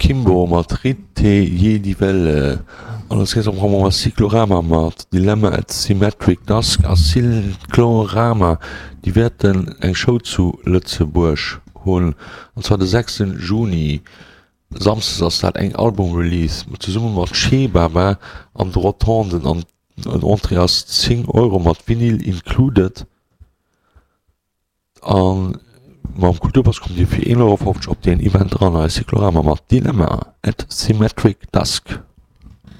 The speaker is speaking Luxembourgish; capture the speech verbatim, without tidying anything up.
Akimbo mat Rite Je die Welle. An als nächstes hu mer Cyclorama mat Dilemma at Symmetric Dusk a Cyclorama, déi wäerten eng Show zu Lëtzebuerg hunn, an zwar de sechsten Juni, Samsdes ass dat, eng Album-Release zesumme mat Che Baba an de Rotonden an den Entrée ass zéng Euro mat Vinyl included. A mam Kulturpass kommt Dir fir een Euro fofzeg op deen Event eran. Hei Cyclorama mat Dilemma at Symmetric Dusk.